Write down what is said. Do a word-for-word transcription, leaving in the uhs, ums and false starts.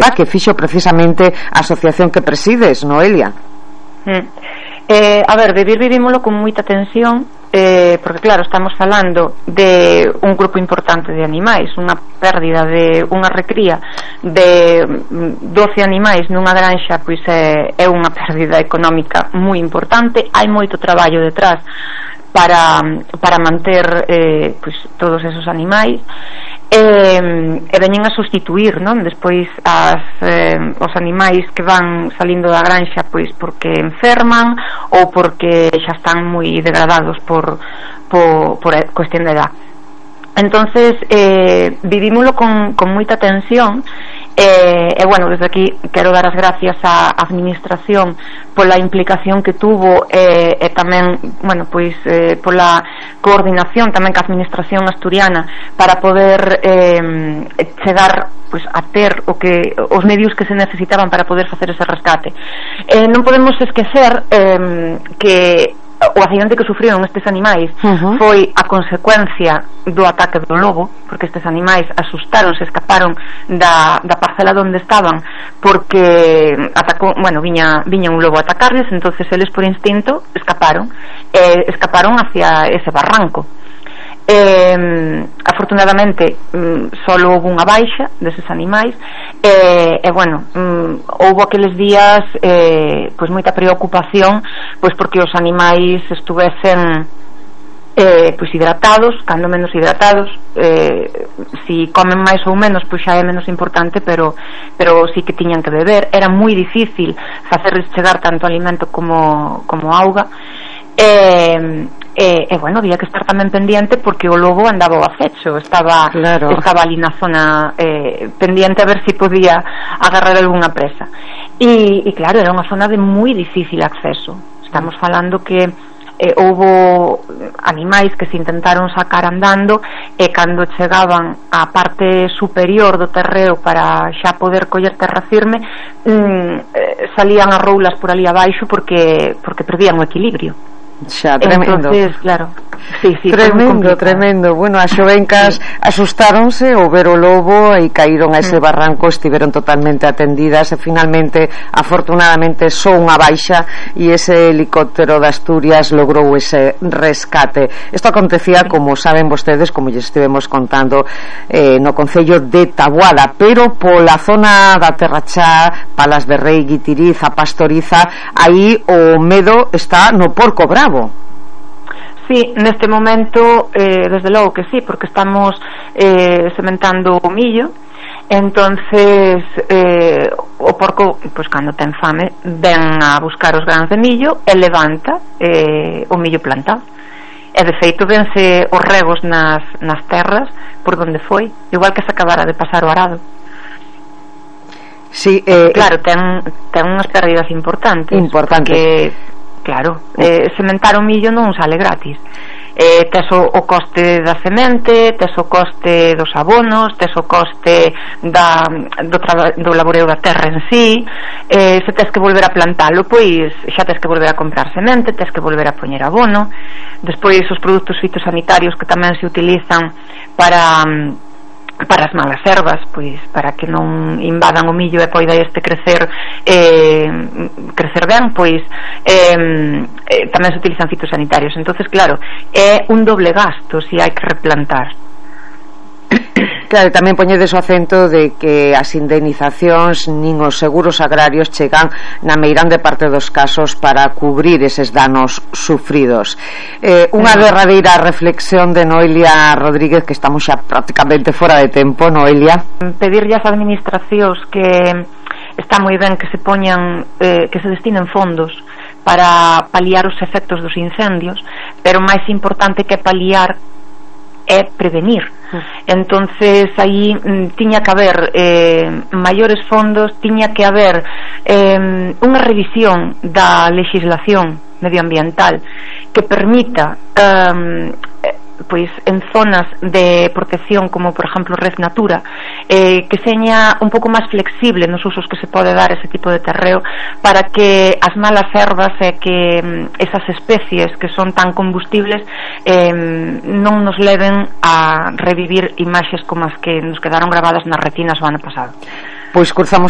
tabuada que fixo precisamente a asociación que presides, Noelia. Mm. Eh, a ver, vivir vivímolo con moita tensión, eh, porque claro, estamos falando de un grupo importante de animais, unha pérdida de unha recría de doce animais nunha granxa, pois é, é unha pérdida económica moi importante. Hai moito traballo detrás para, para manter eh, pois, todos esos animais, e, e veñen a sustituir, non? Despois as, eh, os animais que van salindo da granxa pois porque enferman ou porque xa están moi degradados por, por, por cuestión de edad. Entonces eh, vivímoslo con, con moita tensión. E, e bueno, desde aquí quero dar as gracias á administración pola implicación que tuvo e, e tamén, bueno, pois eh, pola coordinación tamén ca administración asturiana para poder eh, chegar pois a ter o que os medios que se necesitaban para poder facer ese rescate. Eh, non podemos esquecer eh, que o accidente que sufriron estes animais uh-huh. foi a consecuencia do ataque do lobo, porque estes animais asustaron, se escaparon da, da parcela onde estaban porque atacou, bueno, viña, viña un lobo a atacarles, entonces eles por instinto escaparon eh, escaparon hacia ese barranco. Eh, afortunadamente mm, solo houve unha baixa deses animais e, eh, eh, bueno mm, houve aqueles días eh, pois moita preocupación pois porque os animais estuvesen eh, pois hidratados, cando menos hidratados, eh, si comen máis ou menos pois xa é menos importante, pero pero sí que tiñan que beber. Era moi difícil facerles chegar tanto alimento como, como auga. E E, e bueno, había que estar tamén pendiente porque o lobo andaba ao acecho, estaba, claro. estaba ali na zona eh, pendiente a ver se si podía agarrar algunha presa. E, e claro, era unha zona de moi difícil acceso. Estamos falando que eh, houbo animais que se intentaron sacar andando e cando chegaban á parte superior do terreo para xa poder coller terra firme, mm, eh, salían as roulas por ali abaixo porque, porque perdían o equilibrio. Xa, tremendo. Entonces, claro, sí, sí, tremendo, tremendo. Bueno, as xovencas sí. asustáronse ao ver o lobo e caíron a ese mm. barranco, estiveron totalmente atendidas e finalmente, afortunadamente, só unha baixa e ese helicóptero de Asturias logrou ese rescate. Isto acontecía, como saben vostedes, como lles estivemos contando, eh, no concello de Taboada, pero pola zona da Terrachá, Palas de Rei, Guitiriza, Pastoriza, aí o medo está no Porco Bravo. Sí, neste momento eh, desde logo que sí, porque estamos eh, sementando o millo. Entonces eh, o porco, pois cando ten fame, ven a buscar os grans de millo e levanta eh, o millo plantado. E de feito vense os regos nas, nas terras por donde foi, igual que se acabara de pasar o arado. Sí, eh, claro, ten, ten unhas pérdidas importantes. Importante. Porque claro, eh, sementar o millo non sale gratis. Eh, tes o, o coste da semente, tes o coste dos abonos, tes o coste da, do, traba, do laboreo da terra en sí. Eh, se tes que volver a plantalo, pois xa tes que volver a comprar semente, tes que volver a poñer abono. Despois os produtos fitosanitarios que tamén se utilizan para para as malas ervas, pois para que non invadan o millo e poida este crecer eh, crecer ben, pois eh, eh, tamén se utilizan fitosanitarios. Entonces claro, é un doble gasto se hai que replantar. Claro, tamén poñedes o acento de que as indemnizacións nin os seguros agrarios chegan na meirande parte dos casos para cubrir eses danos sufridos. Eh, unha mm. derradeira reflexión de Noelia Rodríguez, que estamos xa prácticamente fora de tempo, Noelia. Pedirlle ás administracións que está moi ben que se poñan eh, que se destinen fondos para paliar os efectos dos incendios, pero máis importante que paliar é prevenir. Entonces aí mm, tiña que haber eh, maiores fondos, tiña que haber eh, unha revisión da legislación medioambiental que permita eh, pois en zonas de protección como por exemplo Red Natura, eh, que seña un pouco máis flexible nos usos que se pode dar ese tipo de terreo, para que as malas ervas e que mm, esas especies que son tan combustibles eh, non nos leven a revivir imaxes como as que nos quedaron gravadas nas retinas o ano pasado. Pois cruzamos